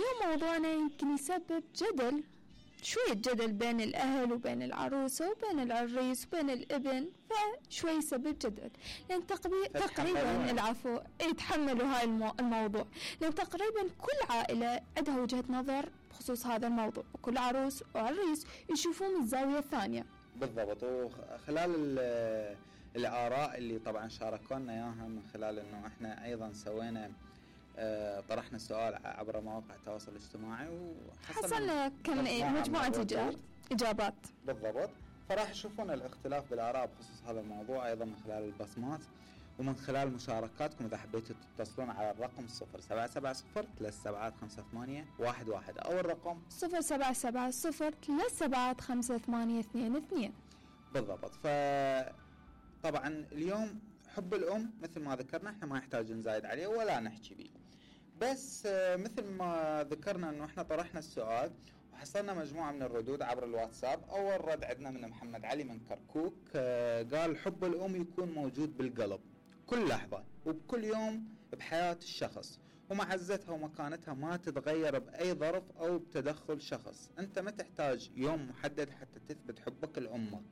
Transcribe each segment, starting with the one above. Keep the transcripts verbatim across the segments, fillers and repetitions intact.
اليوم موضوعنا يمكن يسبب جدل، شوية جدل بين الأهل وبين العروسة وبين العريس وبين الابن، فشوي يسبب جدل لأن تقريبا العفو يتحملوا هاي المو... الموضوع لأن تقريبا كل عائلة عندها وجهة نظر بخصوص هذا الموضوع، وكل عروس وعريس يشوفوه من الزاوية الثانية. بالضبط. وخلال الآراء اللي طبعا شاركونا إياها من خلال أنه إحنا أيضا سوينا آه طرحنا السؤال عبر مواقع التواصل الاجتماعي وحصلنا كم مجموعة إجابات. بالضبط. فراح يشوفون الاختلاف بالآراء بخصوص هذا الموضوع أيضا من خلال البصمات ومن خلال مشاركاتكم. إذا حبيتوا تتصلون على الرقم صفر سبعة سبعة صفر ثلاث سبعات خمسة ثمانية واحد واحد أو الرقم صفر سبعة سبعة صفر ثلاث سبعات خمسة ثمانية اثنين اثنين. بالضبط. فطبعا اليوم حب الأم مثل ما ذكرنا احنا ما يحتاج نزايد عليه ولا نحكي به، بس مثل ما ذكرنا انه احنا طرحنا السؤال وحصلنا مجموعة من الردود عبر الواتساب. اول رد عندنا من محمد علي من كركوك قال حب الأم يكون موجود بالقلب كل لحظة وبكل يوم بحياة الشخص، ومعزتها ومكانتها ما تتغير بأي ظرف أو بتدخل شخص. أنت ما تحتاج يوم محدد حتى تثبت حبك لأمك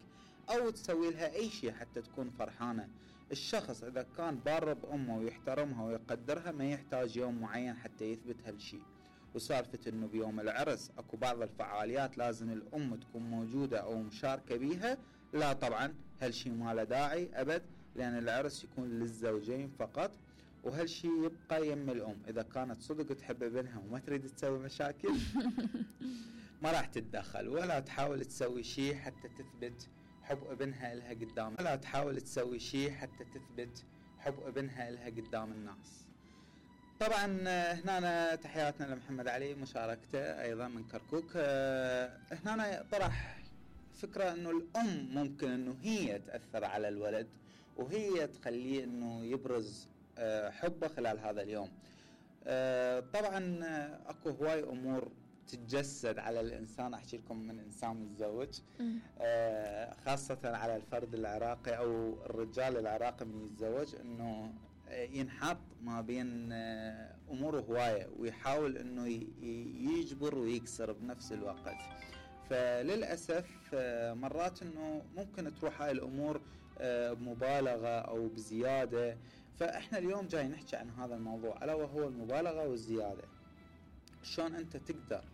أو تسوي لها أي شيء حتى تكون فرحانة. الشخص إذا كان بار بأمه ويحترمها ويقدرها ما يحتاج يوم معين حتى يثبت هالشيء. وسالفة إنه بيوم العرس أكو بعض الفعاليات لازم الأم تكون موجودة أو مشاركة بيها، لا طبعا هالشيء ما له داعي أبد، لأن العرس يكون للزوجين فقط، وهالشيء يبقى يم الأم. إذا كانت صدق تحب ابنها وما تريد تسوي مشاكل ما راح تتدخل ولا تحاول تسوي شيء حتى تثبت حب ابنها إلها قدام، ولا تحاول تسوي شيء حتى تثبت حب ابنها إلها قدام الناس. طبعا هنا تحياتنا لمحمد علي مشاركته أيضا من كركوك. هنا طرح فكرة أنه الأم ممكن أنه هي تأثر على الولد وهي تخليه أنه يبرز حبه خلال هذا اليوم. طبعا أكو هواي أمور تتجسد على الإنسان. أحكي لكم من إنسان متزوج خاصة على الفرد العراقي أو الرجال العراقي من يتزوج أنه ينحط ما بين أمور هواية ويحاول أنه يجبر ويكسر بنفس الوقت. فللأسف مرات أنه ممكن تروح هاي الأمور بمبالغة أو بزيادة. فإحنا اليوم جاي نحكي عن هذا الموضوع ألا وهو المبالغة والزيادة. شلون أنت تقدر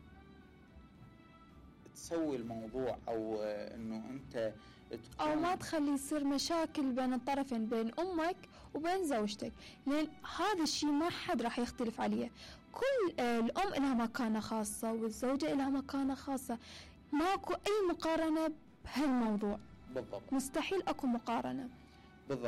تسوي الموضوع أو أنه أنت أو ما تخلي يصير مشاكل بين الطرفين بين أمك وبين زوجتك، لأن هذا الشيء ما حد راح يختلف عليه. كل الأم لها مكانة خاصة والزوجة لها مكانة خاصة، ماكو أي مقارنة بهالموضوع. بالضبط. مستحيل أكو مقارنة. بالضبط.